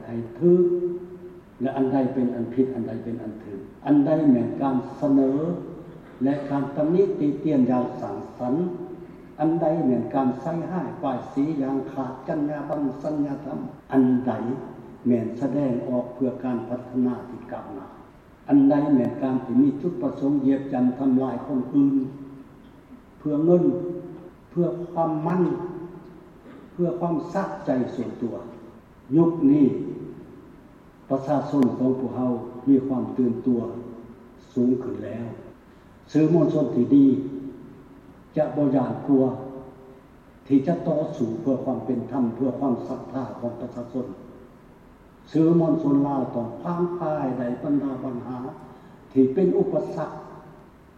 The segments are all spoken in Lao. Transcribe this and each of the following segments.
ໃຫ້ຖືກ ແລະ ອັນໃດເປັນອັນຜິດ ອັນໃດເປັນອັນຖືກ, ອັນໃດແມ່ນການສະເໜີ ແລະ ການຕຳໜິຕິຕຽນຢ່າງສ້າງສັນ, ອັນໃດແມ່ນການໃສ່ຮ້າຍປ້າຍສີຢ່າງຂາດຈັນຍາບັນສັນຍາທຳ, ອັນໃດແມ່ນສະແດງອອກເພື່ອການພັດທະນາທີ່ກ້າວໜ້າ, ອັນໃດແມ່ນການທີ່ມີຈຸດປະສົງຢຽບຢ່ຳທຳລາຍຄົນອື່ນ ເພື່ອເງິນ, ເພື່ອຄວາມມັນ, ເພື່ອຄວາມສະໃຈສ່ວນຕົວ. ຍຸກນີ້ປະຊາຊົນຂອງພວກເຮົາມີຄວາມຕື່ນຕົວສູງຂຶ້ນແລ້ວ. ສື່ມວນຊົນທີ່ດີຈະບໍ່ຢ້ານກົວທີ່ຈະຕໍ່ສູ້ເພື່ອຄວາມເປັນທຳ, ເພື່ອຄວາມສັດທາຂອງປະຊາຊົນ. ສື່ມວນຊົນລາວຕ້ອງຄວ້າງຄາຍໄດ້ບັນດາບັນຫາທີ່ເປັນອຸປະສັກ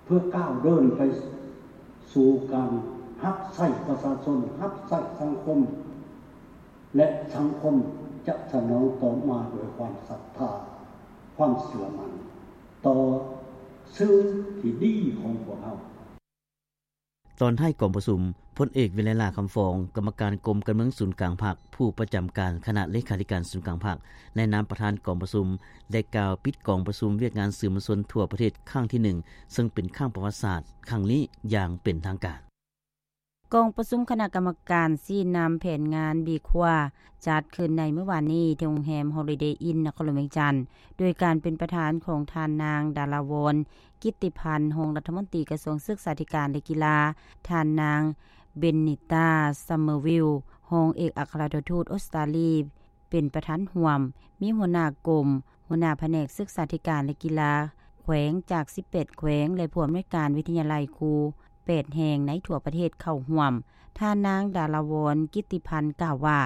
ເພື່ອກ້າວເດີນໄປສູ່ການຮັບໃຊ້ປະຊາຊົນ, ຮັບໃຊ້ສັງຄົມ ແລະ ສັງຄົມຈະສະໜອງຕອບມາດ້ວຍຄວາມສັດທາ, ຄວາມເຊື່ອໝັ້ນຕໍ່ສື່ທີ່ດີຂອງພວກເຮົາ. ຕອນທ້າຍກອງປະຊຸມ, ພົນເອກ ວິໄລຫຼ້າ ຄຳຟອງ, ກຳມະການກົມການເມືອງສູນກາງພັກ, ຜູ້ປະຈຳການຄະນະເລຂາທິການສູນກາງພັກ, ໃນນາມປະທານກອງປະຊຸມ, ໄດ້ກ່າວປິດກອງປະຊຸມວຽກງານສື່ມວນຊົນທົ່ວປະເທດຄັ້ງທີໜຶ່ງ ເຊິ່ງເປັນຄັ້ງປະຫວັດສາດຄັ້ງນີ້ຢ່າງເປັນທາງການ. ກອງປະຊຸມຄະນະກຳມະການຊີ້ນຳແຜນງານບີຄົວ ຈັດຂຶ້ນໃນມື້ວານນີ້ທີ່ໂຮງແຮມ Holiday Inn ນະຄອນຫຼວງວຽງຈັນ ໂດຍການເປັນປະທານຂອງທ່ານນາງ ດາລາວອນ ກິດຕິພັນ ຮອງລັດຖະມົນຕີກະຊວງສຶກສາທິການ ແລະ ກິລາ, ທ່ານນາງ ເບນນິຕາ ຊຳເມີວິລ ຮອງເອກອັກຄະລັດຖະທູດອົດສະຕາລີ ເປັນປະທານຮ່ວມ, ມີຫົວໜ້າກົມ, ຫົວໜ້າພະແນກສຶກສາທິການ ແລະ ກິລາແຂວງຈາກສິບແປດແຂວງ ແລະ ຜູ້ອຳນວຍການວິທະຍາໄລຄູແປດແຫ່ງໃນທົ່ວປະເທດເຂົ້າຮ່ວມ. ທ່ານນາງ ດາລາວອນ ກິດຕິພັນ ກ່າວວ່າ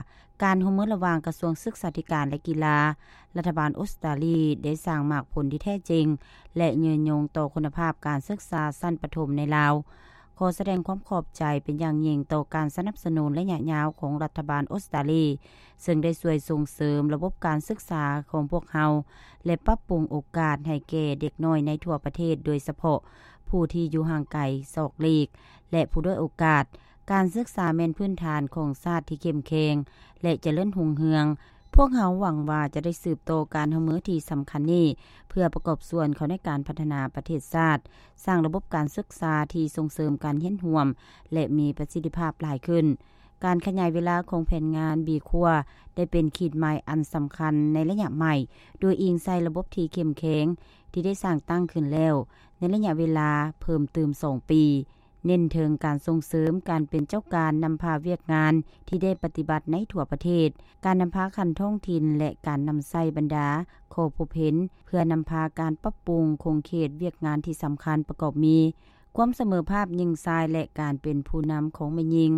ການຮ່ວມມືລະຫວ່າງກະຊວງສຶກສາທິການ ແລະ ກິລາ, ລັດຖະບານອົດສະຕາລີ ໄດ້ສ້າງໝາກຜົນທີ່ແທ້ຈິງ ແລະ ຍືນຍົງຕໍ່ຄຸນນະພາບການສຶກສາຊັ້ນປະຖົມໃນລາວ. ຂໍສະແດງຄວາມຂອບໃຈເປັນຢ່າງຍິ່ງຕໍ່ການສະໜັບສະໜູນໄລຍະຍາວຂອງລັດຖະບານອົດສະຕາລີ ເຊິ່ງໄດ້ຊ່ວຍສົ່ງເສີມລະບົບການສຶກສາຂອງພວກເຮົາ ແລະ ປັບປຸງໂອກາດໃຫ້ແກ່ເດັກນ້ອຍໃນທົ່ວປະເທດ, ໂດຍສະເພາະຜູ້ທີ່ຢູ່ຫ່າງໄກສອກຫຼີກ ແລະ ຜູ້ດ້ອຍໂອກາດ. ການສຶກສາແມ່ນພື້ນຖານຂອງຊາດທີ່ເຂັ້ມແຂງ ແລະ ຈະເລີນຮຸ່ງເຮືອງ. ພວກເຮົາຫວັງວ່າຈະໄດ້ສືບຕໍ່ການຮ່ວມມືທີ່ສຳຄັນນີ້ ເພື່ອປະກອບສ່ວນເຂົ້າໃນການພັດທະນາປະເທດຊາດ, ສ້າງລະບົບການສຶກສາທີ່ສົ່ງເສີມການຮຽນຮ່ວມ ແລະ ມີປະສິດທິພາບຫຼາຍຂຶ້ນ. ການຂະຫຍາຍເວລາຂອງແຜນງານບີຄົວ ໄດ້ເປັນຂີດໝາຍອັນສຳຄັນໃນໄລຍະໃໝ່, ໂດຍອີງໃສ່ລະບົບທີ່ເຂັ້ມແຂງທີ່ໄດ້ສ້າງຕັ້ງຂຶ້ນແລ້ວ ໃນໄລຍະເວລາເພີ່ມຕື່ມສອງປີ, ເນັ້ນເຖິງການສົ່ງເສີມການເປັນເຈົ້າການນຳພາວຽກງານທີ່ໄດ້ປະຕິບັດໃນທົ່ວປະເທດ, ການນຳພາຂັ້ນທ້ອງຖິ່ນ ແລະ ການນຳໃຊ້ບັນດາຂໍ້ພົບເຫັນ ເພື່ອນຳພາການປັບປຸງຂົງເຂດວຽກງານທີ່ສຳຄັນປະກອບມີ ຄວາມສະເໝີພາບຍິງຊາຍ ແລະ ການເປັນຜູ້ນຳຂອງແມ່ຍິງ,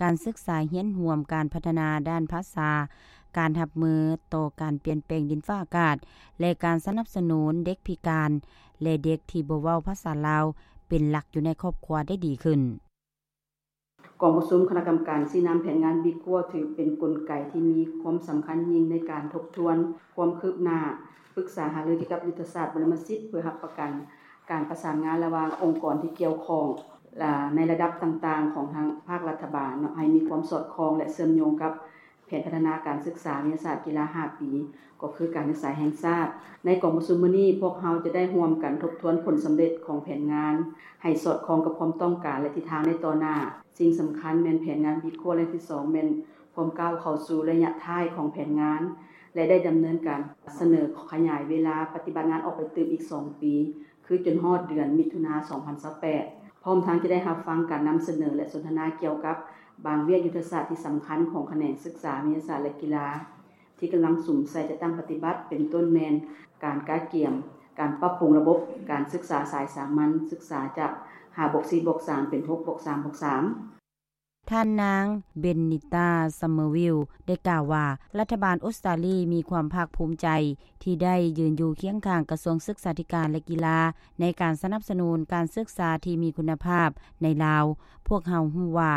ການສຶກສາຮຽນຮ່ວມ, ການພັດທະນາດ້ານພາສາ, ການຮັບມືຕໍ່ການປ່ຽນແປງດິນຟ້າອາກາດ ແລະ ການສະໜັບສະໜູນເດັກພິການ ແລະ ເດັກທີ່ບໍ່ເວົ້າພາສາລາວເປັນຫຼັກຢູ່ໃນຄອບຄົວໄດ້ດີຂຶ້ນ. ກອງປະຊຸມຄະນະກຳມະການຊີ້ນຳແຜນງານບີຄົວ ຖືເປັນກົນໄກທີ່ມີຄວາມສຳຄັນຍິ່ງໃນການທົບທວນຄວາມຄືບໜ້າ, ປຶກສາຫາລືກ່ຽວກັບຍຸດທະສາດບໍລະມະສິດ ເພື່ອຮັບປະກັນການປະສານງານລະຫວ່າງອົງກອນທີ່ກ່ຽວຂ້ອງ ລະ ໃນລະດັບຕ່າງໆຂອງທາງພາກລັດຖະບານເນາະ ໃຫ້ມີຄວາມສອດຄ່ອງ ແລະ ເຊື່ອມໂຍງກັບ ແຜນພັດທະນາການສຶກສາວິທະຍາສາດກິລາຫ້າປີ ກໍຄືການສຶກສາແຫ່ງຊາດ. ໃນກອງປະຊຸມມື້ນີ້ ພວກເຮົາຈະໄດ້ຮ່ວມກັນທົບທວນຜົນສຳເລັດຂອງແຜນງານ ໃຫ້ສອດຄ່ອງກັບຄວາມຕ້ອງການ ແລະ ທິດທາງໃນຕໍ່ໜ້າ. ສິ່ງສຳຄັນແມ່ນແຜນງານບີຄົວລະຍະທີສອງ ແມ່ນພວມກ້າວເຂົ້າສູ່ໄລຍະທ້າຍຂອງແຜນງານ ແລະ ໄດ້ດຳເນີນການສະເໜີຂະຫຍາຍເວລາປະຕິບັດງານອອກໄປຕື່ມອີກສອງປີ ຄືຈົນຮອດເດືອນມິຖຸນາ ສອງພັນຊາວແປດ ພ້ອມທັງຈະໄດ້ຮັບຟັງການນຳສະເໜີ ແລະ ສົນທະນາກ່ຽວກັບບາງວຽກຍຸດທະສາດທີ່ສຳຄັນຂອງຂະແໜງສຶກສາວິທະຍາສາດ ແລະ ກິລາ ທີ່ກຳລັງສຸມໃສ່ຈັດຕັ້ງປະຕິບັດ ເປັນຕົ້ນແມ່ນການກະກຽມ, ການປັບປຸງລະບົບການສຶກສາສາຍສາມັນສຶກສາຈາກຫ້າບວກສີ່ບວກສາມ ເປັນຫົກບວກສາມບວກສາມ. ທ່ານນາງ ເບນນິຕາ ຊຳເມີວິລ ໄດ້ກ່າວວ່າ ລັດຖະບານອົດສະຕາລີມີຄວາມພາກພູມໃຈທີ່ໄດ້ຢືນຢູ່ຄຽງຂ້າງກະຊວງສຶກສາທິການ ແລະ ກິລາ ໃນການສະໜັບສະໜູນການສຶກສາທີ່ມີຄຸນນະພາບໃນລາວ. ພວກເຮົາຮູ້ວ່າ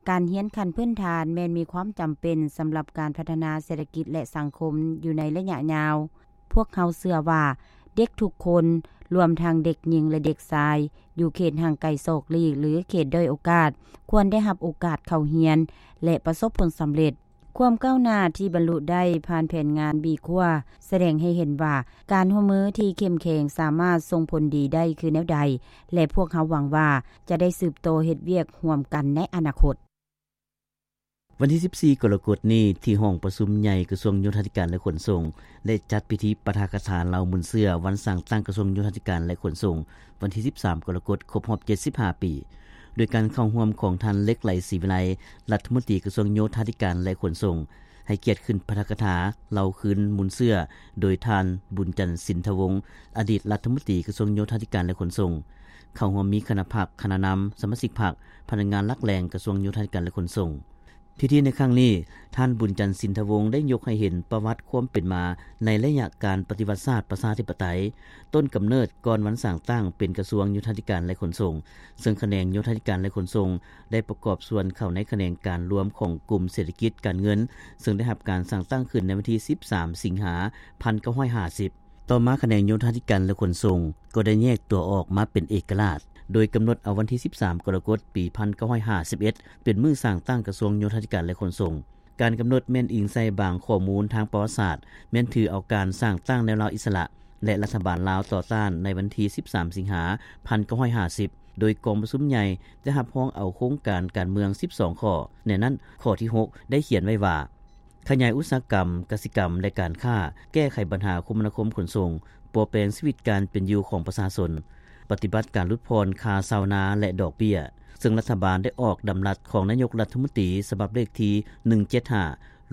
ການຮຽນຂັ້ນພື້ນຖານແມ່ນມີຄວາມຈຳເປັນສຳລັບການພັດທະນາເສດຖະກິດ ແລະ ສັງຄົມຢູ່ໃນໄລຍະຍາວ. ພວກເຮົາເຊື່ອວ່າເດັກທຸກຄົນ, ລວມທັງເດັກຍິງ ແລະ ເດັກຊາຍ, ຢູ່ເຂດຫ່າງໄກສອກຫຼີກ ຫຼື ເຂດດ້ອຍໂອກາດ, ຄວນໄດ້ຮັບໂອກາດເຂົ້າຮຽນ ແລະ ປະສົບຜົນສຳເລັດ. ຄວາມກ້າວໜ້າທີ່ບັນລຸໄດ້ຜ່ານແຜນງານບີຂົວ ສະແດງໃຫ້ເຫັນວ່າ ການຮ່ວມມືທີ່ເຂັ້ມແຂງສາມາດສົ່ງຜົນດີໄດ້ຄືແນວໃດ ແລະ ພວກເຮົາຫວັງວ່າຈະໄດ້ສືບຕໍ່ເຮັດວຽກຮ່ວມກັນໃນອະນາຄົດ. ວັນທີສິບສີ່ ກໍລະກົດນີ້ ທີ່ຫ້ອງປະຊຸມໃຫຍ່ກະຊວງໂຍທາທິການ ແລະ ຂົນສົ່ງ ໄດ້ຈັດພິທີປາຖະກະຖາເລົ່າມູນເຊື້ອວັນສ້າງຕັ້ງກະຊວງໂຍທາທິການ ແລະ ຂົນສົ່ງ ວັນທີສິບສາມ ກໍລະກົດ ຄົບຮອບເຈັດສິບຫ້າປີ ໂດຍການເຂົ້າຮ່ວມຂອງທ່ານ ເລັກໄລ ສີວິໄລ ລັດຖະມົນຕີກະຊວງໂຍທາທິການ ແລະ ຂົນສົ່ງ, ໃຫ້ກຽດຂຶ້ນປາຖະກະຖາເລົ່າຄືນມູນເຊື້ອ ໂດຍທ່ານ ບຸນຈັນ ສິນທະວົງ ອະດີດລັດຖະມົນຕີກະຊວງໂຍທາທິການ ແລະ ຂົນສົ່ງ. ເຂົ້າຮ່ວມມີຄະນະພັກ, ຄະນະນຳ, ສະມາຊິກພັກ, ພະນັກງານຫຼັກແຫຼ່ງກະຊວງໂຍທາທິການ ແລະ ຂົນສົ່ງ. ພິທີໃນຄັ້ງນີ້, ທ່ານ ບຸນຈັນ ສິນທະວົງ ໄດ້ຍົກໃຫ້ເຫັນປະຫວັດຄວາມເປັນມາໃນໄລຍະການປະຕິວັດຊາດປະຊາທິປະໄຕ, ຕົ້ນກຳເນີດກ່ອນວັນສ້າງຕັ້ງເປັນກະຊວງໂຍທາທິການ ແລະ ຂົນສົ່ງ, ເຊິ່ງຂະແໜງໂຍທາທິການ ແລະ ຂົນສົ່ງ ໄດ້ປະກອບສ່ວນເຂົ້າໃນຂະແໜງການລວມຂອງກຸ່ມເສດຖະກິດການເງິນ, ເຊິ່ງໄດ້ຮັບການສ້າງຕັ້ງຂຶ້ນໃນວັນທີສິບສາມ ສິງຫາ ພັນເກົ້າຮ້ອຍຫ້າສິບ. ຕໍ່ມາຂະແໜງໂຍທາທິການ ແລະ ຂົນສົ່ງ ກໍໄດ້ແຍກຕົວອອກມາເປັນເອກະລາດ, ໂດຍກຳນົດເອົາວັນທີສິບສາມ ກໍລະກົດ ປີພັນເກົ້າຮ້ອຍຫ້າສິບເອັດ ເປັນມື້ສ້າງຕັ້ງກະຊວງໂຍທາທິການ ແລະ ຂົນສົ່ງ. ການກຳນົດແມ່ນອີງໃສ່ບາງຂໍ້ມູນທາງປະຫວັດສາດ, ແມ່ນຖືເອົາການສ້າງຕັ້ງແນວລາວອິດສະຫຼະ ແລະ ລັດຖະບານລາວຕໍ່ຕ້ານໃນວັນທີສິບສາມ ສິງຫາ ພັນເກົ້າຮ້ອຍຫ້າສິບ ໂດຍກອງປະຊຸມໃຫຍ່ໄດ້ຮັບຮອງເອົາໂຄງການການເມືອງສິບສອງຂໍ້. ໃນນັ້ນ, ຂໍ້ທີຫົກ ໄດ້ຂຽນໄວ້ວ່າ ຂະຫຍາຍອຸດສາຫະກຳ, ກະສິກຳ ແລະ ການຄ້າ, ແກ້ໄຂບັນຫາຄົມມະນາຄົມຂົນສົ່ງ, ປົວແປງຊີວິດການເປັນຢູ່ຂອງປະຊາຊົນ, ປະຕິບັດການຫຼຸດຜ່ອນຄ່າເຊົ່ານາ ແລະ ດອກເບ້ຍ, ເຊິ່ງລັດຖະບານໄດ້ອອກດຳລັດຂອງນາຍົກລັດຖະມົນຕີ ສະບັບເລກທີໜຶ່ງເຈັດຫ້າ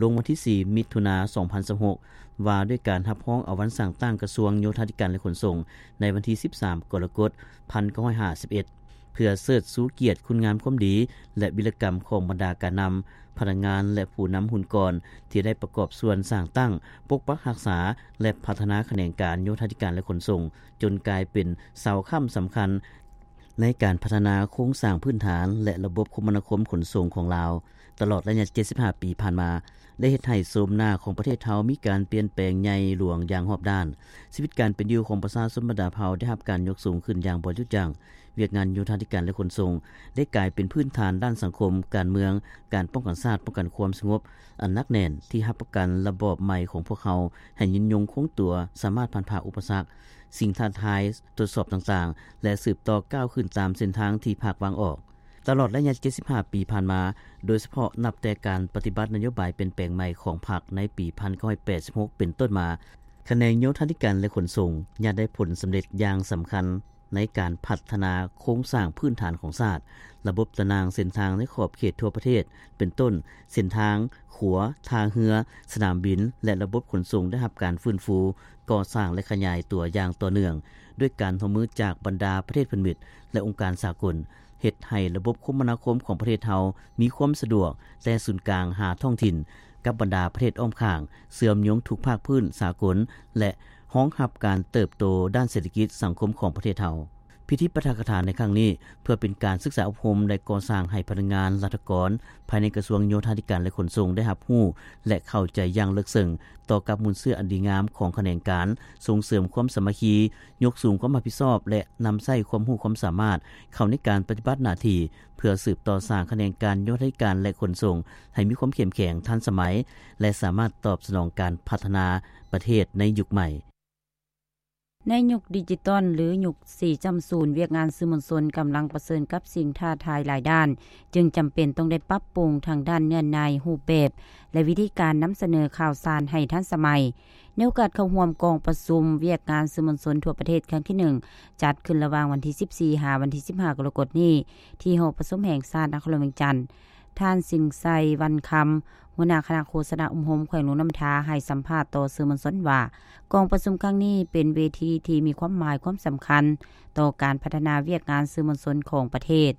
ລົງວັນທີສີ່ ມິຖຸນາ ສອງພັນຊາວຫົກ ວ່າດ້ວຍການຮັບຮອງເອົາວັນສ້າງຕັ້ງກະຊວງໂຍທາທິການ ແລະ ຂົນສົ່ງ ໃນວັນທີສິບສາມ ກໍລະກົດ ພັນເກົ້າຮ້ອຍຫ້າສິບເອັດ ເພື່ອເຊີດຊູກຽດຄຸນງາມຄວາມດີ ແລະ ວິລະກຳຂອງບັນດາການນຳ, ພະນັກງານ ແລະ ຜູ້ນຳຮຸ່ນກ່ອນ ທີ່ໄດ້ປະກອບສ່ວນສ້າງຕັ້ງ, ປົກປັກຮັກສາ ແລະ ພັດທະນາຂະແໜງການໂຍທາທິການ ແລະ ຂົນສົ່ງ ຈົນກາຍເປັນເສົາຄ້ຳສຳຄັນໃນການພັດທະນາໂຄງສ້າງພື້ນຖານ ແລະ ລະບົບຄົມມະນາຄົມຂົນສົ່ງຂອງລາວ. ຕະຫຼອດໄລຍະເຈັດສິບຫ້າປີຜ່ານມາ ໄດ້ເຮັດໃຫ້ໂສມໜ້າຂອງປະເທດເຮົາມີການປ່ຽນແປງໃຫຍ່ຫຼວງຢ່າງຮອບດ້ານ. ຊີວິດການເປັນຢູ່ຂອງປະຊາຊົນບັນດາເຜົ່າໄດ້ຮັບການຍົກສູງຂຶ້ນຢ່າງບໍ່ຢຸດຢັ້ງ. ວຽກງານໂຍທາທິການ ແລະ ຂົນສົ່ງ ໄດ້ກາຍເປັນພື້ນຖານດ້ານສັງຄົມ, ການເມືອງ, ການປ້ອງກັນຊາດ, ປ້ອງກັນຄວາມສະຫງົບ, ອັນໜັກແໜ້ນທີ່ຮັບປະກັນລະບອບໃໝ່ຂອງພວກເຮົາໃຫ້ຍືນຍົງຄົງຕົວ, ສາມາດຜ່ານຜ່າອຸປະສັກ, ສິ່ງທ້າທາຍ, ທົດສອບຕ່າງໆ ແລະ ສືບຕໍ່ກ້າວຂຶ້ນຕາມເສັ້ນທາງທີ່ພັກວາງອອກ. ຕະຫຼອດໄລຍະເຈັດສິບຫ້າປີຜ່ານມາ, ໂດຍສະເພາະນັບແຕ່ການປະຕິບັດນະໂຍບາຍປ່ຽນແປງໃໝ່ຂອງພັກໃນປີພັນເກົ້າຮ້ອຍແປດສິບຫົກເປັນຕົ້ນມາ, ຂະແໜງໂຍທາທິການ ແລະ ຂົນສົ່ງ ຍາດໄດ້ຜົນສຳເລັດຢ່າງສຳຄັນໃນການພັດທະນາໂຄງສ້າງພື້ນຖານຂອງຊາດ, ລະບົບຕາໜ່າງເສັ້ນທາງໃນຂອບເຂດທົ່ວປະເທດ ເປັນຕົ້ນ ເສັ້ນທາງ, ຂົວ, ທ່າເຮືອ, ສະໜາມບິນ ແລະ ລະບົບຂົນສົ່ງໄດ້ຮັບການຟື້ນຟູ, ກໍ່ສ້າງ ແລະ ຂະຫຍາຍຕົວຢ່າງຕໍ່ເນື່ອງ, ດ້ວຍການຮ່ວມມືຈາກບັນດາປະເທດເພື່ອນມິດ ແລະ ອົງການສາກົນ. ເຮັດໃຫ້ລະບົບຄົມມະນາຄົມຂອງປະເທດເຮົາມີຄວາມສະດວກແຕ່ສູນກາງຫາທ້ອງຖິ່ນກັບບັນດາປະເທດອ້ອມຂ້າງ, ເຊື່ອມໂຍງທຸກພາກພື້ນສາກົນ ແລະ ຮອງຮັບການເຕີບໂຕດ້ານເສດຖະກິດສັງຄົມຂອງປະເທດເຮົາ. ພິທີປາຖະກະຖາໃນຄັ້ງນີ້ ເພື່ອເປັນການສຶກສາອົບຮົມ ແລະ ກໍ່ສ້າງໃຫ້ພະນັກງານລັດຖະກອນພາຍໃນກະຊວງໂຍທາທິການ ແລະ ຂົນສົ່ງໄດ້ຮັບຮູ້ ແລະ ເຂົ້າໃຈຢ່າງເລິກເຊິ່ງຕໍ່ກັບມູນເຊື້ອອັນດີງາມຂອງຂະແໜງການ, ສົ່ງເສີມຄວາມສາມັກຄີ, ຍົກສູງຄວາມຮັບຜິດຊອບ ແລະ ນຳໃຊ້ຄວາມຮູ້ຄວາມສາມາດເຂົ້າໃນການປະຕິບັດໜ້າທີ່ ເພື່ອສືບຕໍ່ສ້າງຂະແໜງການໂຍທາທິການ ແລະ ຂົນສົ່ງໃຫ້ມີຄວາມເຂັ້ມແຂງ, ທັນສະໄໝ ແລະ ສາມາດຕອບສະໜອງການພັດທະນາປະເທດໃນຍຸກໃໝ່. ໃນຍຸກດິຈິຕອນ ຫຼື ຍຸກສີ່ຈຸດສູນ ວຽກງານສື່ມວນຊົນກຳລັງປະເຊີນກັບສິ່ງທ້າທາຍຫຼາຍດ້ານ, ຈຶ່ງຈຳເປັນຕ້ອງໄດ້ປັບປຸງທາງດ້ານເນື້ອໃນ, ຮູບແບບ ແລະ ວິທີການນຳສະເໜີຂ່າວສານໃຫ້ທັນສະໄໝ. ໃນໂອກາດເຂົ້າຮ່ວມກອງປະຊຸມວຽກງານສື່ມວນຊົນທົ່ວປະເທດຄັ້ງທີໜຶ່ງ ຈັດຂຶ້ນລະຫວ່າງວັນທີສິບສີ່ ຫາວັນທີສິບຫ້າ ກໍລະກົດນີ້ ທີ່ຫໍປະຊຸມແຫ່ງຊາດນະຄອນຫຼວງວຽງຈັນ, ທ່ານ ສິນໄຊ ວັນຄຳ ຫົວໜ້າຄະນະໂຄສະນາອົບຮົມແຂວງຫຼວງນ້ຳທາ ໃຫ້ສຳພາດຕໍ່ສື່ມວນຊົນວ່າ ກອງປະຊຸມຄັ້ງນີ້ເປັນເວທີທີ່ມີຄວາມໝາຍຄວາມສຳຄັນຕໍ່ການພັດທະນາວຽກງານສື່ມວນຊົນຂອງປະເທດ.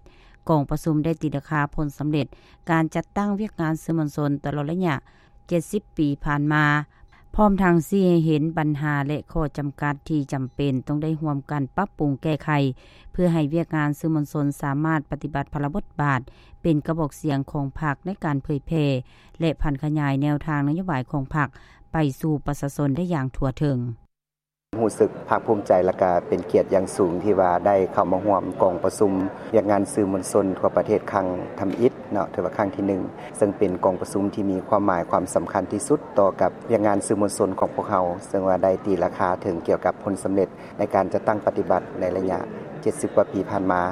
ກອງປະຊຸມໄດ້ຕີລາຄາຜົນສຳເລັດການຈັດຕັ້ງວຽກງານສື່ມວນຊົນຕະຫຼອດໄລຍະເຈັດສິບປີຜ່ານມາ, ພ້ອມທັງຊີ້ໃຫ້ເຫັນບັນຫາ ແລະ ຂໍ້ຈຳກັດທີ່ຈຳເປັນຕ້ອງໄດ້ຮ່ວມກັນປັບປຸງແກ້ໄຂ ເພື່ອໃຫ້ວຽກງານສື່ມວນຊົນສາມາດປະຕິບັດພາລະບົດບາດເປັນກະບອກສຽງຂອງພັກໃນການເຜີຍແຜ່ ແລະ ຜັນຂະຫຍາຍແນວທາງນະໂຍບາຍຂອງພັກໄປສູ່ປະຊາຊົນໄດ້ຢ່າງທົ່ວເຖິງ. ຮູ້ສຶກພາກພູມໃຈ ແລະກະເປັນກຽດຢ່າງສູງ ທີ່ວ່າໄດ້ເຂົ້າມາຮ່ວມກອງປະຊຸມວຽກງານສື່ມວນຊົນທົ່ວປະເທດຄັ້ງທຳອິດເນາະ ຖືວ່າຄັ້ງທີໜຶ່ງ ເຊິ່ງເປັນກອງປະຊຸມທີ່ມີຄວາມໝາຍຄວາມສຳຄັນທີ່ສຸດຕໍ່ກັບວຽກງານສື່ມວນຊົນຂອງພວກເຮົາ ເຊິ່ງວ່າໄດ້ຕີລາຄາເຖິງກ່ຽວກັບຜົນສຳເລັດໃນການຈັດຕັ້ງປະຕິບັດໃນໄລຍະເຈັດສິບກວ່າປີຜ່ານມາ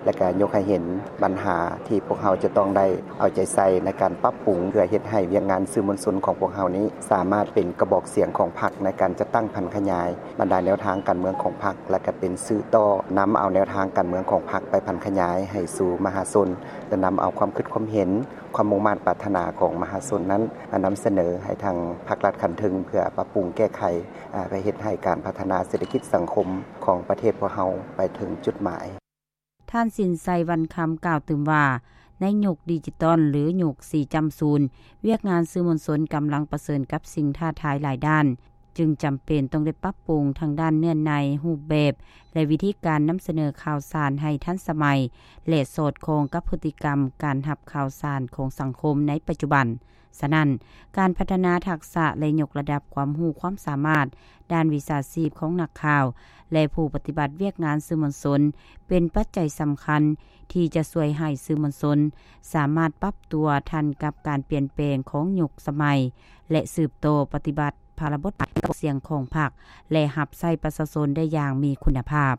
ແລະກະຍົກໃຫ້ເຫັນບັນຫາທີ່ພວກເຮົາຈະຕ້ອງໄດ້ເອົາໃຈໃສ່ໃນການປັບປຸງ ເພື່ອເຮັດໃຫ້ວຽກງານສື່ມວນຊົນຂອງພວກເຮົານີ້ ສາມາດເປັນກະບອກສຽງຂອງພັກໃນການຈັດຕັ້ງຜັນຂະຫຍາຍ ບັນດາແນວທາງການເມືອງຂອງພັກ ແລະກະເປັນສື່ຕໍ່ນຳເອົາແນວທາງການເມືອງຂອງພັກໄປຜັນຂະຫຍາຍໃຫ້ສູ່ມະຫາຊົນ ແລະນຳເອົາຄວາມຄິດຄວາມເຫັນ ຄວາມມຸ່ງມາດປາດຖະໜາຂອງມະຫາຊົນນັ້ນ ມານຳສະເໜີໃຫ້ທາງພາກລັດຂັ້ນເທິງ ເພື່ອປັບປຸງແກ້ໄຂ ອາ ເພື່ອເຮັດໃຫ້ການພັດທະນາເສດຖະກິດສັງຄົມຂອງປະເທດພວກເຮົາໄປເຖິງຈຸດໝາຍ. ທ່ານ ສິນໄຊ ວັນຄຳ ກ່າວຕື່ມວ່າ ໃນຍຸກດິຈິຕອນ ຫຼື ຍຸກສີ່ຈ້ຳສູນ ວຽກງານສື່ມວນຊົນກຳລັງປະເຊີນກັບສິ່ງທ້າທາຍຫຼາຍດ້ານ ຈຶ່ງຈຳເປັນຕ້ອງໄດ້ປັບປຸງທາງດ້ານເນື້ອໃນ, ຮູບແບບ ແລະ ວິທີການນຳສະເໜີຂ່າວສານໃຫ້ທັນສະໄໝ ແລະ ສອດຄ່ອງກັບພຶດຕິກຳການຮັບຂ່າວສານຂອງສັງຄົມໃນປັດຈຸບັນ. ສະນັ້ນ, ການພັດທະນາທັກສະ ແລະ ຍົກລະດັບຄວາມຮູ້ຄວາມສາມາດດ້ານວິຊາຊີບຂອງນັກຂ່າວ ແລະ ຜູ້ປະຕິບັດວຽກງານສື່ມວນຊົນ ເປັນປັດໄຈສຳຄັນທີ່ຈະຊ່ວຍໃຫ້ສື່ມວນຊົນສາມາດປັບຕົວທັນກັບການປ່ຽນແປງຂອງຍຸກສະໄໝ ແລະ ສືບຕໍ່ປະຕິບັດພາລະບົດບາດເປັນກະບອກສຽງຂອງພັກ ແລະ ຮັບໃຊ້ປະຊາຊົນໄດ້ຢ່າງມີຄຸນນະພາບ.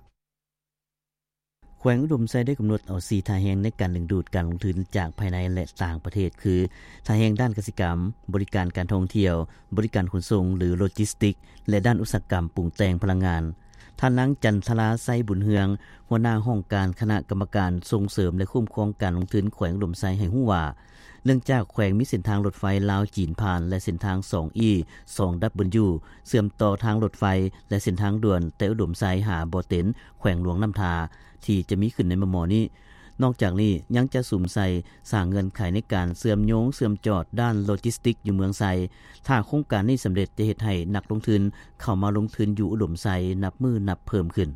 ແຂວງອຸດົມໄຊໄດ້ກຳນົດເອົາສີ່ທ່າແຮງໃນການດຶງດູດການລົງທຶນຈາກພາຍໃນ ແລະ ຕ່າງປະເທດ ຄື ທ່າແຮງດ້ານກະສິກຳ, ບໍລິການການທ່ອງທ່ຽວ, ບໍລິການຂົນສົ່ງ ຫຼື ໂລຈິສຕິກ ແລະ ດ້ານອຸດສາຫະກຳປຸງແຕ່ງພະລັງງານ. ທ່ານນາງ ຈັນທະລາ ໄຊບຸນເຮືອງ, ຫົວໜ້າຫ້ອງການຄະນະກຳມະການສົ່ງເສີມ ແລະ ຄຸ້ມຄອງການລົງທຶນແຂວງອຸດົມໄຊ ໃຫ້ຮູ້ວ່າ ເນື່ອງຈາກແຂວງມີເສັ້ນທາງລົດໄຟລາວ-ຈີນຜ່ານ ແລະ ເສັ້ນທາງ ສອງອີ ສອງດັບເບິນຢູ ເຊື່ອມຕໍ່ທາງລົດໄຟ ແລະ ເສັ້ນທາງດ່ວນແຕ່ອຸດົມໄຊຫາບໍ່ເຕັນ ແຂວງຫຼວງນ້ຳທາ ທີ່ຈະມີຂຶ້ນໃນມໍ່ໆນີ້. ນອກຈາກນີ້ຍັງຈະສຸມໃສ່ສ້າງເງື່ອນໄຂໃນການເຊື່ອມໂຍງເຊື່ອມຈອດດ້ານໂລຈິສຕິກຢູ່ເມືອງໄຊ. ຖ້າໂຄງການນີ້ສຳເລັດ ຈະເຮັດໃຫ້ນັກລົງທຶນເຂົ້າມາລົງທຶນຢູ່ອຸດົມໄຊນັບມື້ນັບເພີ່ມຂຶ້ນ.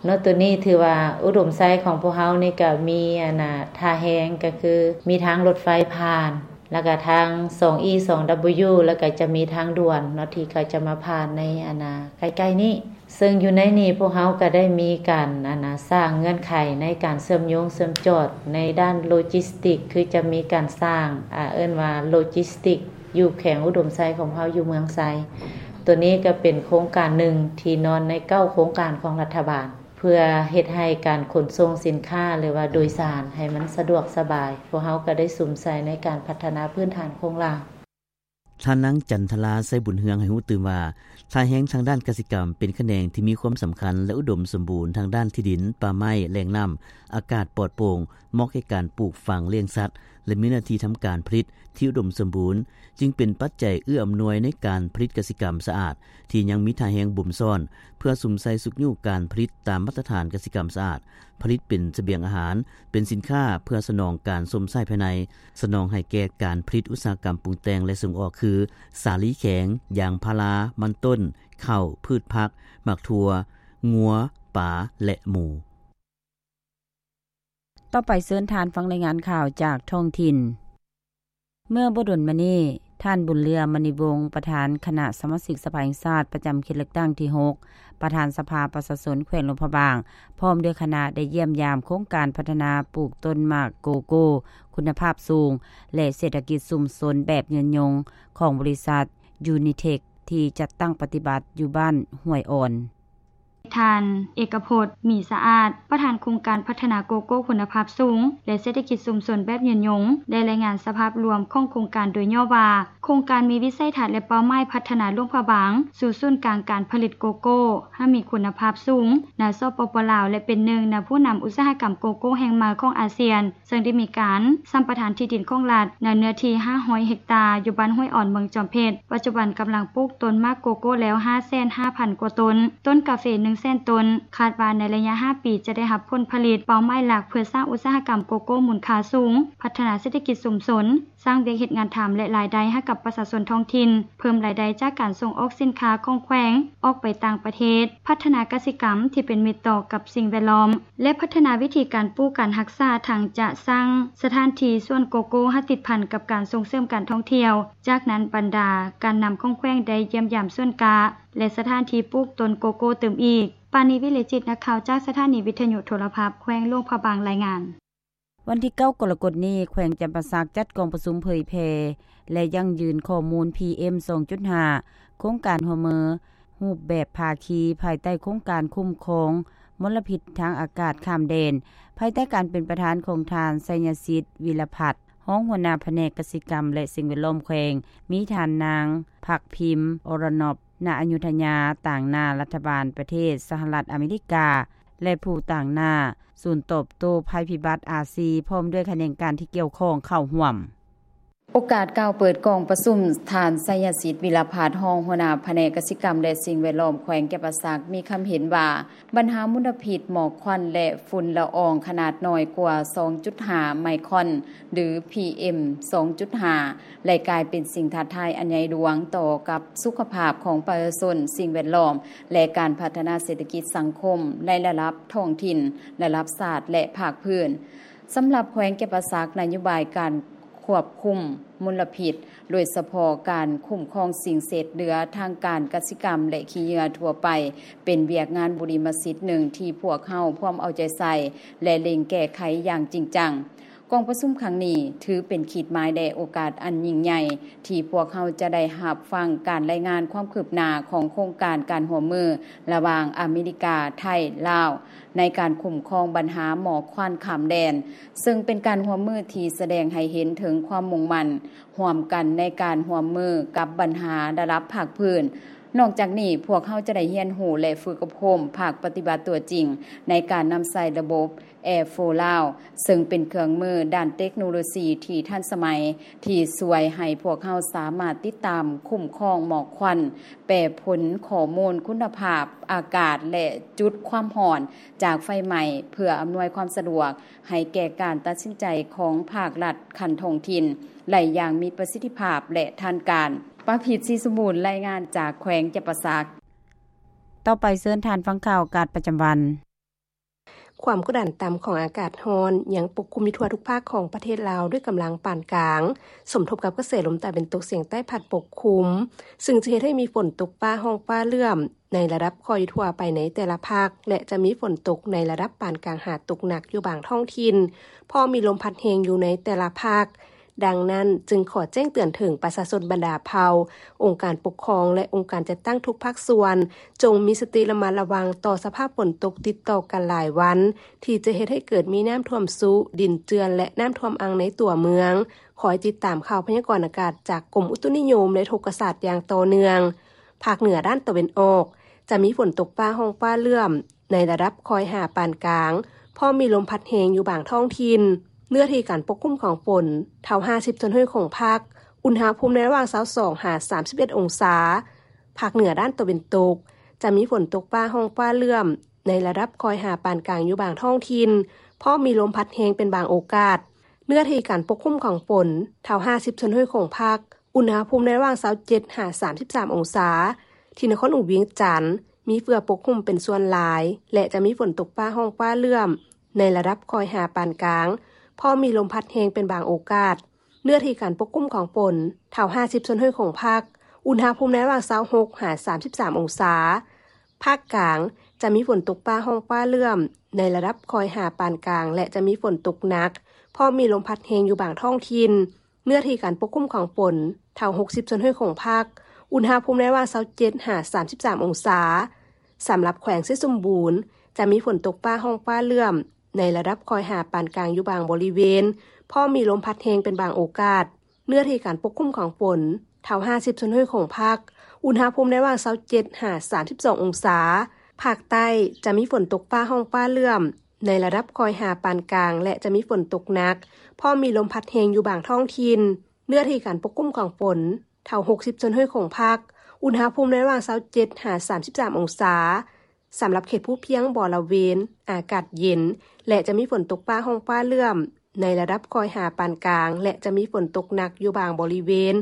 ເນາະ ໂຕນີ້ຖືວ່າອຸດົມໄຊຂອງພວກເຮົານີ້ກະມີ ອັນນ່າ ທ່າແຮງ ກະຄືມີທາງລົດໄຟຜ່ານ ແລ້ວກະທາງ ສອງອີ ສອງດັບເບິນຢູ ແລ້ວກະຈະມີທາງດ່ວນເນາະ ທີ່ກະຈະມາຜ່ານໃນ ອັນນ່າ ໃກ້ໆນີ້. ເຊິ່ງຢູ່ໃນນີ້ພວກເຮົາກະໄດ້ມີການ ອັນນ່າ ສ້າງເງື່ອນໄຂໃນການເຊື່ອມໂຍງເຊື່ອມຈອດໃນດ້ານໂລຈິສຕິກ ຄືຈະມີການສ້າງ ອາ ເອີ້ນວ່າໂລຈິສຕິກ ຢູ່ແຂວງອຸດົມໄຊຂອງເຮົາ ຢູ່ເມືອງໄຊ. ໂຕນີ້ກະເປັນໂຄງການໜຶ່ງທີ່ນອນໃນເກົ້າໂຄງການຂອງລັດຖະບານ ເພື່ອເຮັດໃຫ້ການຂົນສົ່ງສິນຄ້າ ຫຼືວ່າໂດຍສານໃຫ້ມັນສະດວກສະບາຍ. ພວກເຮົາກະໄດ້ສຸມໃສ່ໃນການພັດທະນາພື້ນຖານໂຄງລ່າງ. ທ່ານນາງ ຈັນທະລາ ໄຊບຸນເຮືອງ ໃຫ້ຮູ້ຕື່ມວ່າ ທ່າແຮງທາງດ້ານກະສິກຳເປັນຂະແໜງທີ່ມີຄວາມສຳຄັນ ແລະ ອຸດົມສົມບູນທາງດ້ານທີ່ດິນ, ປ່າໄມ້, ແຫຼ່ງນ້ຳ, ອາກາດປອດໂປ່ງ, ເໝາະແກ່ການປູກຝັງ, ລ້ຽງສັດ ແລະ ມີເນື້ອທີ່ທຳການຜະລິດທີ່ອຸດົມສົມບູນ. ຈຶ່ງເປັນປັດໄຈເອື້ອອຳນວຍໃນການຜະລິດກະສິກຳສະອາດ ທີ່ຍັງມີທ່າແຮງບົ່ມຊ້ອນ ເພື່ອສຸມໃສ່ຊຸກຍູ້ການຜະລິດຕາມມາດຕະຖານກະສິກຳສະອາດ, ຜະລິດເປັນສະບຽງອາຫານ, ເປັນສິນຄ້າເພື່ອສະໜອງການຊົມໃຊ້ພາຍໃນ, ສະໜອງໃຫ້ແກ່ການຜະລິດອຸດສາຫະກຳປຸງແຕ່ງ ແລະ ສົ່ງອອກ ຄື ສາລີແຂງ, ຢາງພາລາ, ມັນຕົ້ນ, ເຂົ້າ, ພືດຜັກ, ໝາກຖົ່ວ, ງົວ, ປາ ແລະ ໝູ. ຕໍ່ໄປເຊີນທ່ານຟັງລາຍງານຂ່າວຈາກທ້ອງຖິ່ນ. ເມື່ອບໍ່ດົນມານີ້, ທ່ານ ບຸນເຫຼືອ ມະນີວົງ ປະທານຄະນະສະມາຊິກສະພາແຫ່ງຊາດປະຈຳເຂດເລືອກຕັ້ງທີຫົກ ປະທານສະພາປະຊາຊົນແຂວງຫຼວງພະບາງ ພ້ອມດ້ວຍຄະນະໄດ້ຢ້ຽມຢາມໂຄງການພັດທະນາປູກຕົ້ນໝາກໂກໂກ້ຄຸນນະພາບສູງ ແລະ ເສດຖະກິດຊຸມຊົນແບບຍືນຍົງຂອງບໍລິສັດ ຢູນິເທັກ ທີ່ຈັດຕັ້ງປະຕິບັດຢູ່ບ້ານຫ້ວຍອ່ອນ. ທ່ານ ເອກະພົດ ມີສະອາດ ປະທານໂຄງການພັດທະນາໂກໂກ້ຄຸນນະພາບສູງ ແລະ ເສດຖະກິດຊຸມຊົນແບບຍືນຍົງ ໄດ້ລາຍງານສະພາບລວມຂອງໂຄງການໂດຍຫຍໍ້ວ່າ, ໂຄງການມີວິໄສທັດ ແລະ ເປົ້າໝາຍພັດທະນາຫຼວງພະບາງສູ່ສູນກາງການຜະລິດໂກໂກ້ໃຫ້ມີຄຸນນະພາບສູງໃນ ສປປ ລາວ ແລະ ເປັນໜຶ່ງໃນຜູ້ນຳອຸດສາຫະກຳໂກໂກ້ແຫ່ງໃໝ່ຂອງອາຊຽນ. ເຊິ່ງໄດ້ມີການສຳປະທານທີ່ດິນຂອງລັດໃນເນື້ອທີ່ຫ້າຮ້ອຍເຮັກຕາ ຢູ່ບ້ານຫ້ວຍອ່ອນ ເມືອງຈອມເພັດ. ປັດຈຸບັນກຳລັງປູກຕົ້ນໝາກໂກໂກ້ແລ້ວຫ້າແສນຫ້າພັນກວ່າຕົ້ນ, ຕົ້ນກາເຟໜຶ່ງແສນຕົ້ນ. ຄາດວ່າໃນໄລຍະຫ້າປີຈະໄດ້ຮັບຜົນຜະລິດ. ເປົ້າໝາຍຫຼັກເພື່ອສ້າງອຸດສາຫະກຳໂກໂກ້ມູນຄ່າສູງ, ພັດທະນາເສດຖະກິດຊຸມຊົນ, ສ້າງວຽກເຮັດງານທຳ ແລະ ລາຍໄດ້ໃຫ້ກັບປະຊາຊົນທ້ອງຖິ່ນ, ເພີ່ມລາຍໄດ້ຈາກການສົ່ງອອກສິນຄ້າຂອງແຂວງອອກໄປຕ່າງປະເທດ, ພັດທະນາກະສິກຳທີ່ເປັນມິດຕໍ່ກັບສິ່ງແວດລ້ອມ ແລະ ພັດທະນາວິທີການປູກການຮັກສາ, ທັງຈະສ້າງສະຖານທີ່ສວນໂກໂກ້ໃຫ້ຕິດພັນກັບການສົ່ງເສີມການທ່ອງທ່ຽວ. ຈາກນັ້ນບັນດາການນຳຂອງແຂວງໄດ້ຢ້ຽມຢາມສວນກ້າ ແລະ ສະຖານທີ່ປູກຕົ້ນໂກໂກ້ຕື່ມອີກ. ປານີ ວິເລຈິດ ນັກຂ່າວຈາກສະຖານີວິທະຍຸໂທລະພາບແຂວງຫຼວງພະບາງ ລາຍງານ. ວັນທີເກົ້າ ກໍລະກົດນີ້ ແຂວງຈຳປາສັກຈັດກອງປະຊຸມເຜີຍແຜ່ ແລະ ຢັ້ງຢືນຂໍ້ມູນ ພີເອັມ ສອງຈຸດຫ້າ ໂຄງການຮ່ວມມືຮູບແບບພາຄີ ພາຍໃຕ້ໂຄງການຄຸ້ມຄອງມົນລະພິດທາງອາກາດຂ້າມແດນ ພາຍໃຕ້ການເປັນປະທານຂອງທ່ານ ໄຊຍະສິດ ວິລະພັດ ຮອງຫົວໜ້າພະແນກກະສິກຳ ແລະ ສິ່ງແວດລ້ອມແຂວງ, ມີທ່ານນາງ ພັກພິມ ອໍຣະນອບ ນາອະຍຸທຍາ ຕາງໜ້າລັດຖະບານປະເທດສະຫະລັດອາເມລິກາ ແລະ ຜູ້ຕາງໜ້າສູນຕອບໂຕ້ໄພພິບັດອາຊີ ພ້ອມດ້ວຍຂະແໜງການທີ່ກ່ຽວຂ້ອງເຂົ້າຮ່ວມ. ໂອກາດກ່າວເປີດກອງປະຊຸມ, ທ່ານ ໄຊຍະສິດ ວິລະພັດ ຮອງຫົວໜ້າພະແນກກະສິກຳ ແລະ ສິ່ງແວດລ້ອມແຂວງຈຳປາສັກ ມີຄຳເຫັນວ່າ ບັນຫາມົນລະພິດໝອກຄວັນ ແລະ ຝຸ່ນລະອອງຂະໜາດນ້ອຍກວ່າ ສອງຈຸດຫ້າ ໄມຄອນ ຫຼື ພີເອັມ ສອງຈຸດຫ້າ ໄດ້ກາຍເປັນສິ່ງທ້າທາຍອັນໃຫຍ່ຫຼວງຕໍ່ກັບສຸຂະພາບຂອງປະຊາຊົນ, ສິ່ງແວດລ້ອມ ແລະ ການພັດທະນາເສດຖະກິດສັງຄົມໃນລະດັບທ້ອງຖິ່ນ, ລະດັບຊາດ ແລະ ພາກພື້ນ. ສຳລັບແຂວງຈຳປາສັກ, ນະໂຍບາຍການຄວບຄຸມມົນລະພິດ, ໂດຍສະເພາະການຄຸ້ມຄອງສິ່ງເສດເຫຼືອທາງການກະສິກຳ ແລະ ຂີ້ເຫຍື້ອທົ່ວໄປ, ເປັນວຽກງານບຸລິມະສິດໜຶ່ງທີ່ພວກເຮົາພວມເອົາໃຈໃສ່ ແລະ ເລັ່ງແກ້ໄຂຢ່າງຈິງຈັງ. ກອງປະຊຸມຄັ້ງນີ້ຖືເປັນຂີດໝາຍ ແລະ ໂອກາດອັນຍິ່ງໃຫຍ່ ທີ່ພວກເຮົາຈະໄດ້ຮັບຟັງການລາຍງານຄວາມຄືບໜ້າຂອງໂຄງການການຮ່ວມມືລະຫວ່າງອາເມລິກາ, ໄທ, ລາວ ໃນການຄຸ້ມຄອງບັນຫາໝອກຄວັນຂ້າມແດນ, ເຊິ່ງເປັນການຮ່ວມມືທີ່ສະແດງໃຫ້ເຫັນເຖິງຄວາມມຸ່ງໝັ້ນຮ່ວມກັນໃນການຮ່ວມມືກັບບັນຫາລະດັບພາກພື້ນ. ນອກຈາກນີ້, ພວກເຮົາຈະໄດ້ຮຽນຮູ້ ແລະ ຝຶກອົບຮົມພາກປະຕິບັດຕົວຈິງໃນການນຳໃຊ້ລະບົບ Air four Lao ເຊິ່ງເປັນເຄື່ອງມືດ້ານເຕັກໂນໂລຊີທີ່ທັນສະໄໝ ທີ່ຊ່ວຍໃຫ້ພວກເຮົາສາມາດຕິດຕາມຄຸ້ມຄອງໝອກຄວັນ, ແປຜົນຂໍ້ມູນຄຸນນະພາບອາກາດ ແລະ ຈຸດຄວາມຮ້ອນຈາກໄຟໄໝ້ ເພື່ອອຳນວຍຄວາມສະດວກໃຫ້ແກ່ການຕັດສິນໃຈຂອງພາກລັດຂັ້ນທ້ອງຖິ່ນໄດ້ຢ່າງມີປະສິດທິພາບ ແລະ ທັນການ. ປາພິດ ສີສົມບູນ ລາຍງານຈາກແຂວງຈຳປາສັກ. ຕໍ່ໄປເຊີນທ່ານຟັງຂ່າວອາກາດປະຈຳວັນ. ຄວາມກົດດັນຕ່ຳຂອງອາກາດຮ້ອນຍັງປົກຄຸມຢູ່ທົ່ວທຸກພາກຂອງປະເທດລາວດ້ວຍກຳລັງປານກາງ, ສົມທົບກັບກະແສລົມຕາເວັນຕົກສຽງໃຕ້ພັດປົກຄຸມ, ຊຶ່ງຈະເຮັດໃຫ້ມີຝົນຕົກຟ້າຮ້ອງຟ້າເຫຼື້ອມໃນລະດັບຄ່ອຍຢູ່ທົ່ວໄປໃນແຕ່ລະພາກ ແລະ ຈະມີຝົນຕົກໃນລະດັບປານກາງຫາຕົກໜັກຢູ່ບາງທ້ອງຖິ່ນ, ພ້ອມມີລົມພັດແຮງຢູ່ໃນແຕ່ລະພາກ. ດັ່ງນັ້ນ, ຈຶ່ງຂໍແຈ້ງເຕືອນເຖິງປະຊາຊົນບັນດາເຜົ່າ, ອົງການປົກຄອງ ແລະ ອົງການຈັດຕັ້ງທຸກພາກສ່ວນ, ຈົ່ງມີສະຕິລະມັດລະວັງຕໍ່ສະພາບຝົນຕົກຕິດຕໍ່ກັນຫຼາຍວັນ, ທີ່ຈະເຮັດໃຫ້ເກີດມີນ້ຳຖ້ວມຊຸ, ດິນເຈື່ອນ ແລະ ນ້ຳຖ້ວມອັ່ງໃນຕົວເມືອງ. ຄອຍຕິດຕາມຂ່າວພະຍາກອນອາກາດຈາກກົມອຸຕຸນິຍົມ ແລະ ອຸທົກກະສາດຢ່າງຕໍ່ເນື່ອງ. ພາກເໜືອດ້ານຕາເວັນອອກ ຈະມີຝົນຕົກຟ້າຮ້ອງຟ້າເຫຼື້ອມ ໃນລະດັບຄ່ອຍຫາປານກາງ, ພ້ອມມີລົມພັດແຮງຢູ່ບາງທ້ອງຖິ່ນ. ເນື້ອທີ່ການປົກຄຸມຂອງຝົນ ເທົ່າຫ້າສິບສ່ວນຮ້ອຍຂອງພາກ, ອຸນຫະພູມໃນລະຫວ່າງຊາວສອງຫາສາມສິບເອັດອົງສາ. ພາກເໜືອດ້ານຕາເວັນຕົກ ຈະມີຝົນຕົກຟ້າຮ້ອງຟ້າເຫຼື້ອມ ໃນລະດັບຄ່ອຍຫາປານກາງຢູ່ບາງທ້ອງຖິ່ນ, ພ້ອມມີລົມພັດແຮງເປັນບາງໂອກາດ. ເນື້ອທີ່ການປົກຄຸມຂອງຝົນ ເທົ່າຫ້າສິບສ່ວນຮ້ອຍຂອງພາກ, ອຸນຫະພູມໃນລະຫວ່າງຊາວເຈັດຫາສາມສິບສາມອົງສາ. ທີ່ນະຄອນຫຼວງວຽງຈັນ ມີເຝືອປົກຄຸມເປັນສ່ວນຫຼາຍ ແລະ ຈະມີຝົນຕົກຟ້າຮ້ອງຟ້າເຫຼື້ອມ ໃນລະດັບຄ່ອຍຫາປານກາງ, ພ້ອມມີລົມພັດແຮງເປັນບາງໂອກາດ. ເນື້ອທີ່ການປົກຄຸມຂອງຝົນ ເທົ່າຫ້າສິບສ່ວນຮ້ອຍຂອງພາກ, ອຸນຫະພູມໃນລະຫວ່າງຊາວຫົກຫາສາມສິບສາມອົງສາ. ພາກກາງ ຈະມີຝົນຕົກຟ້າຮ້ອງຟ້າເຫຼື້ອມ ໃນລະດັບຄ່ອຍຫາປານກາງ ແລະ ຈະມີຝົນຕົກໜັກ, ພ້ອມມີລົມພັດແຮງຢູ່ບາງທ້ອງຖິ່ນ. ເນື້ອທີ່ການປົກຄຸມຂອງຝົນ ເທົ່າຫົກສິບສ່ວນຮ້ອຍຂອງພາກ, ອຸນຫະພູມໃນລະຫວ່າງຊາວເຈັດຫາສາມສິບສາມອົງສາ. ສຳລັບແຂວງໄຊສົມບູນ ຈະມີຝົນຕົກຟ້າຮ້ອງຟ້າເຫຼື້ອມ ໃນລະດັບຄ່ອຍຫາປານກາງຢູ່ບາງບໍລິເວນ, ພ້ອມມີລົມພັດແຮງເປັນບາງໂອກາດ. ເນື້ອທີ່ການປົກຄຸມຂອງຝົນ ເທົ່າຫ້າສິບສ່ວນຮ້ອຍຂອງພາກ, ອຸນຫະພູມໃນລະຫວ່າງຊາວເຈັດຫາສາມສິບສອງອົງສາ. ພາກໃຕ້ ຈະມີຝົນຕົກຟ້າຮ້ອງຟ້າເຫຼື້ອມ ໃນລະດັບຄ່ອຍຫາປານກາງ ແລະ ຈະມີຝົນຕົກໜັກ, ພ້ອມມີລົມພັດແຮງຢູ່ບາງທ້ອງຖິ່ນ. ເນື້ອທີ່ການປົກຄຸມຂອງຝົນ ເທົ່າຫົກສິບສ່ວນຮ້ອຍຂອງພາກ, ອຸນຫະພູມໃນລະຫວ່າງຊາວເຈັດຫາສາມສິບສາມອົງສາ. ສຳລັບເຂດພູພຽງບໍລະເວນ ອາກາດເຢັນ ແລະ ຈະມີຝົນຕົກຟ້າຮ້ອງຟ້າເຫຼື້ອມ ໃນລະດັບຄ່ອຍຫາປານກາງ ແລະ ຈະມີຝົນຕົກໜັກຢູ່ບາງບໍລິເວນ,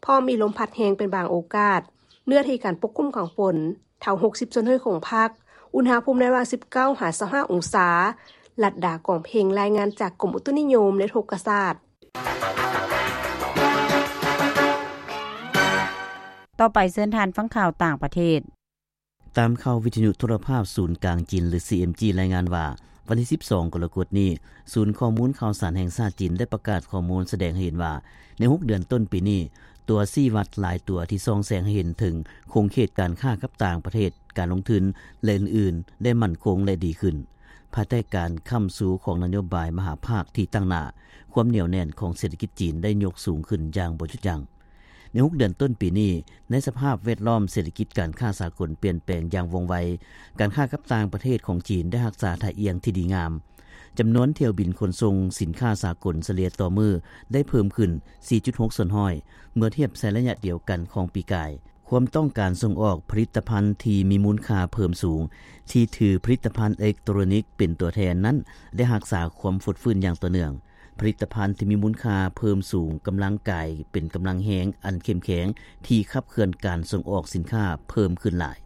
ພ້ອມມີລົມພັດແຮງເປັນບາງໂອກາດ. ເນື້ອທີ່ການປົກຄຸມຂອງຝົນ ເທົ່າຫົກສິບສ່ວນຮ້ອຍຂອງພາກ, ອຸນຫະພູມໃນລະຫວ່າງສິບເກົ້າຫາຊາວຫ້າອົງສາ. ລັດດາ ກອງເພັງ ລາຍງານຈາກກົມອຸຕຸນິຍົມ ແລະ ອຸທົກກະສາດ. ຕໍ່ໄປເຊີນທ່ານຟັງຂ່າວຕ່າງປະເທດ. ຕາມຂ່າວວິທະຍຸໂທລະພາບສູນກາງຈີນ ຫຼື ຊີເອັມຈີ ລາຍງານວ່າ ວັນທີສິບສອງ ກໍລະກົດນີ້ ສູນຂໍ້ມູນຂ່າວສານແຫ່ງຊາດຈີນ ໄດ້ປະກາດຂໍ້ມູນສະແດງໃຫ້ເຫັນວ່າ ໃນຫົກເດືອນຕົ້ນປີນີ້ ຕົວຊີ້ວັດຫຼາຍຕົວທີ່ສ່ອງແສງໃຫ້ເຫັນເຖິງຂົງເຂດການຄ້າກັບຕ່າງປະເທດ, ການລົງທຶນ ແລະ ອື່ນໆ ໄດ້ໝັ້ນຄົງ ແລະ ດີຂຶ້ນ ພາຍໃຕ້ການຄ້ຳຊູຂອງນະໂຍບາຍມະຫາພາກທີ່ຕັ້ງໜ້າ, ຄວາມໜຽວແໜ້ນຂອງເສດຖະກິດຈີນໄດ້ຍົກສູງຂຶ້ນຢ່າງບໍ່ຢຸດຢັ້ງ. ໃນຫົກເດືອນຕົ້ນປີນີ້, ໃນສະພາບແວດລ້ອມເສດຖະກິດການຄ້າສາກົນປ່ຽນແປງຢ່າງວ່ອງໄວ, ການຄ້າກັບຕ່າງປະເທດຂອງຈີນໄດ້ຮັກສາທ່າອ່ຽງທີ່ດີງາມ. ຈຳນວນຖ້ຽວບິນຂົນສົ່ງສິນຄ້າສາກົນສະເລ່ຍຕໍ່ມື້ໄດ້ເພີ່ມຂຶ້ນ ສີ່ຈຸດຫົກສ່ວນຮ້ອຍ ເມື່ອທຽບໃສ່ໄລຍະດຽວກັນຂອງປີກາຍ. ຄວາມຕ້ອງການສົ່ງອອກຜະລິດຕະພັນທີ່ມີມູນຄ່າເພີ່ມສູງ, ທີ່ຖືຜະລິດຕະພັນເອເລັກໂຕຣນິກເປັນຕົວແທນນັ້ນ ໄດ້ຮັກສາຄວາມຟົດຟື້ນຢ່າງຕໍ່ເນື່ອງ. ຜະລິດຕະພັນທີ່ມີມູນຄ່າເພີ່ມສູງກຳລັງກາຍເປັນກຳລັງແຮງອັນເຂັ້ມແຂງ ທີ່ຂັບເຄື່ອນການສົ່ງອອກສິນຄ້າເພີ່ມຂຶ້ນຫຼາຍ.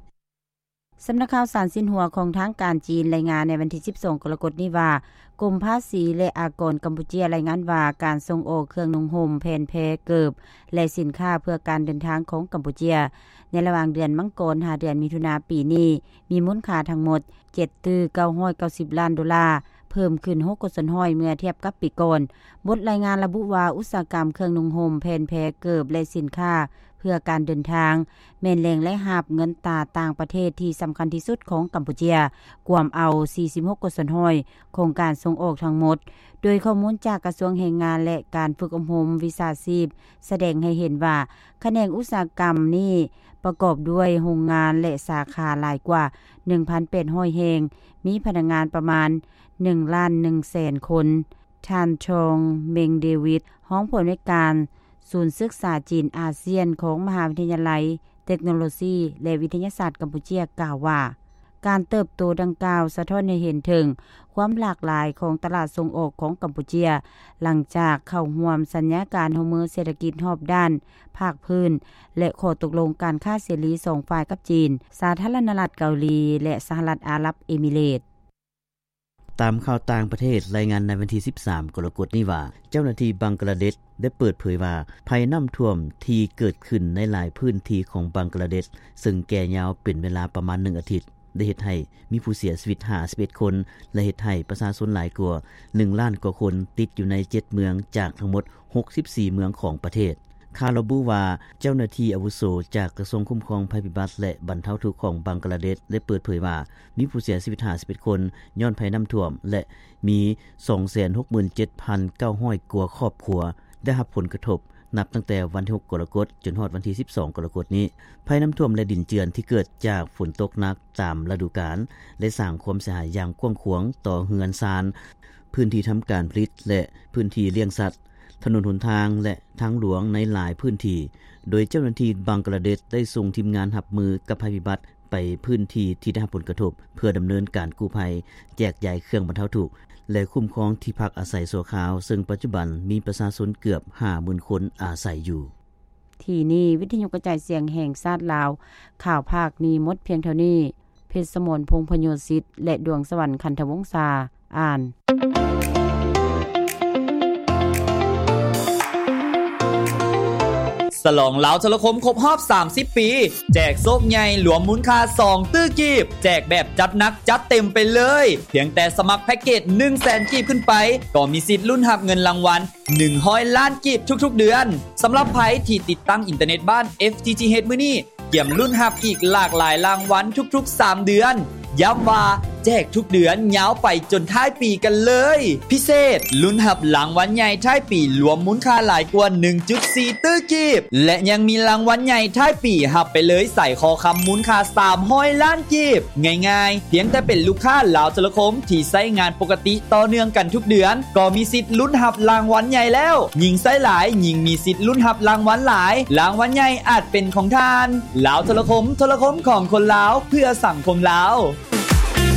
ສຳນັກຂ່າວສານຊິນຫົວຂອງທາງການຈີນລາຍງານໃນວັນທີສິບສອງ ກໍລະກົດນີ້ວ່າ ກົມພາສີ ແລະ ອາກອນກຳປູເຈຍລາຍງານວ່າ ການສົ່ງອອກເຄື່ອງນຸ່ງຫົ່ມ, ແຜ່ນແພ, ເກີບ ແລະ ສິນຄ້າເພື່ອການເດີນທາງຂອງກຳປູເຈຍ ໃນລະຫວ່າງເດືອນມັງກອນຫາເດືອນມິຖຸນາປີນີ້ ມີມູນຄ່າທັງໝົດ ເຈັດຕື້ເກົ້າຮ້ອຍເກົ້າສິບລ້ານໂດລາ, ເພີ່ມຂຶ້ນຫົກເປີເຊັນຮ້ອຍເມື່ອທຽບກັບປີກ່ອນ. ບົດລາຍງານລະບຸວ່າ ອຸດສາຫະກຳເຄື່ອງນຸ່ງຫົ່ມ, ແຜ່ນແພ, ເກີບ ແລະ ສິນຄ້າເພື່ອການເດີນທາງ ແມ່ນແຫຼ່ງລາຍຮັບເງິນຕາຕ່າງປະເທດທີ່ສຳຄັນທີ່ສຸດຂອງກຳປູເຈຍ, ກວມເອົາສີ່ສິບຫົກເປີເຊັນຮ້ອຍຂອງການສົ່ງອອກທັງໝົດ, ໂດຍຂໍ້ມູນຈາກກະຊວງແຮງງານ ແລະ ການຝຶກອົບຮົມວິຊາຊີບ ສະແດງໃຫ້ເຫັນວ່າ ຂະແໜງອຸດສາຫະກຳນີ້ປະກອບດ້ວຍໂຮງງານ ແລະ ສາຂາຫຼາຍກວ່າໜຶ່ງພັນແປດຮ້ອຍແຫ່ງ, ມີພະນັກງານປະມານໜຶ່ງລ້ານໜຶ່ງແສນຄົນ. ທ່ານ ທອງ ເມັງ ເດວິດ, ຮອງຜູ້ອຳນວຍການສູນສຶກສາຈີນອາຊຽນຂອງມະຫາວິທະຍາໄລເຕັກໂນໂລຊີ ແລະ ວິທະຍາສາດກຳປູເຈຍ ກ່າວວ່າ ການເຕີບໂຕດັ່ງກ່າວສະທ້ອນໃຫ້ເຫັນເຖິງຄວາມຫຼາກຫຼາຍຂອງຕະຫຼາດສົ່ງອອກຂອງກຳປູເຈຍ ຫຼັງຈາກເຂົ້າຮ່ວມສັນຍາການຮ່ວມມືເສດຖະກິດຮອບດ້ານພາກພື້ນ ແລະ ຂໍ້ຕົກລົງການຄ້າເສລີສອງຝ່າຍກັບຈີນ, ສາທາລະນະລັດເກົາຫຼີ ແລະ ສະຫະລັດອາຣັບເອມິເຣດ. ຕາມຂ່າວຕ່າງປະເທດລາຍງານໃນວັນທີສິບສາມ ກໍລະກົດນີ້ວ່າ ເຈົ້າໜ້າທີ່ບັງກະລາເດດ ໄດ້ເປີດເຜີຍວ່າ ໄພນ້ຳຖ້ວມທີ່ເກີດຂຶ້ນໃນຫຼາຍພື້ນທີ່ຂອງບັງກະລາເດດ ເຊິ່ງແກ່ຍາວເປັນເວລາປະມານໜຶ່ງອາທິດ ໄດ້ເຮັດໃຫ້ມີຜູ້ເສຍຊີວິດຫ້າສິບເອັດຄົນ ແລະ ເຮັດໃຫ້ປະຊາຊົນຫຼາຍກວ່າໜຶ່ງລ້ານກວ່າຄົນຕິດຢູ່ໃນເຈັດເມືອງ ຈາກທັງໝົດຫົກສິບສີ່ເມືອງຂອງປະເທດ. ຂ່າວລະບຸວ່າ ເຈົ້າໜ້າທີ່ອາວຸໂສຈາກກະຊວງຄຸ້ມຄອງໄພພິບັດ ແລະ ບັນເທົາທຸກຂອງບັງກະລາເດດ ໄດ້ເປີດເຜີຍວ່າ ມີຜູ້ເສຍຊີວິດຫ້າສິບເອັດຄົນຍ້ອນໄພນ້ຳຖ້ວມ ແລະ ມີສອງແສນຫົກໝື່ນເຈັດພັນເກົ້າຮ້ອຍກວ່າຄອບຄົວໄດ້ຮັບຜົນກະທົບ ນັບຕັ້ງແຕ່ວັນທີຫົກ ກໍລະກົດ ຈົນຮອດວັນທີສິບສອງ ກໍລະກົດນີ້. ໄພນ້ຳຖ້ວມ ແລະ ດິນເຈື່ອນທີ່ເກີດຈາກຝົນຕົກໜັກຕາມລະດູການ ໄດ້ສ້າງຄວາມເສຍຫາຍຢ່າງກວ້າງຂວາງຕໍ່ເຮືອນຊານ, ພື້ນທີ່ທຳການຜະລິດ ແລະ ພື້ນທີ່ລ້ຽງສັດ, ຖະໜົນຫົນທາງ ແລະ ທາງຫຼວງໃນຫຼາຍພື້ນທີ່, ໂດຍເຈົ້າໜ້າທີ່ບັງກະລາເດດໄດ້ສົ່ງທີມງານຮັບມືກັບໄພພິບັດ ໄປພື້ນທີ່ທີ່ໄດ້ຮັບຜົນກະທົບ ເພື່ອດຳເນີນການກູ້ໄພ, ແຈກຢາຍເຄື່ອງບັນເທົາທຸກ ແລະ ຄຸ້ມຄອງທີ່ພັກອາໄສຊົ່ວຄາວ, ເຊິ່ງປັດຈຸບັນມີປະຊາຊົນເກືອບຫ້າໝື່ນຄົນອາໄສຢູ່. ທີ່ນີ້ ວິທະຍຸກະຈາຍສຽງແຫ່ງຊາດລາວ ຂ່າວພາກນີ້ໝົດພຽງເທົ່ານີ້. ເພັດສະໝອນ ພົງພະໂຍສິດ ແລະ ດວງສະຫວັນ ຄັນທະວົງສາ ອ່ານ. ສະຫຼອງລາວໂທລະຄົມຄົບຮອບສາມສິບປີ ແຈກໂຊກໃຫຍ່ລວມມູນຄ່າສອງຕື້ກີບ ແຈກແບບຈັດໜັກຈັດເຕັມໄປເລີຍ ພຽງແຕ່ສະໝັກແພັກເກດໜຶ່ງແສນກີບຂຶ້ນໄປ ກໍມີສິດລຸ້ນຮັບເງິນລາງວັນໜຶ່ງຮ້ອຍລ້ານກີບທຸກໆເດືອນ. ສຳລັບໃຜທີ່ຕິດຕັ້ງອິນເຕີເນັດບ້ານ ເອັຟ ທີ ທີ ເອັດ ມື້ນີ້ ກຽມລຸ້ນຮັບອີກຫຼາກຫຼາຍລາງວັນທຸກໆສາມເດືອນ. ຢ້ຳວ່າແຈກທຸກເດືອນຍາວໄປຈົນທ້າຍປີກັນເລີຍ. ພິເສດ, ລຸ້ນຮັບລາງວັນໃຫຍ່ທ້າຍປີລວມມູນຄ່າຫຼາຍກວ່າໜຶ່ງຈຸດສີ່ຕື້ກີບ ແລະ ຍັງມີລາງວັນໃຫຍ່ທ້າຍປີຮັບໄປເລີຍສາຍຄໍຄຳມູນຄ່າສາມຮ້ອຍລ້ານກີບ. ງ່າຍໆ, ພຽງແຕ່ເປັນລູກຄ້າລາວໂທລະຄົມທີ່ໃຊ້ງານປົກກະຕິຕໍ່ເນື່ອງກັນທຸກເດືອນ ກໍມີສິດລຸ້ນຮັບລາງວັນໃຫຍ່ແລ້ວ. ຍິ່ງໃຊ້ຫຼາຍ, ຍິ່ງມີສິດລຸ້ນຮັບລາງວັນຫຼາຍ. ລາງວັນໃຫຍ່ອາດເປັນຂອງທ່ານ. ລາວໂທລະຄົມ, ໂທລະຄົມຂອງຄົນລາວ, ເພື່ອສັງຄົມລາວ.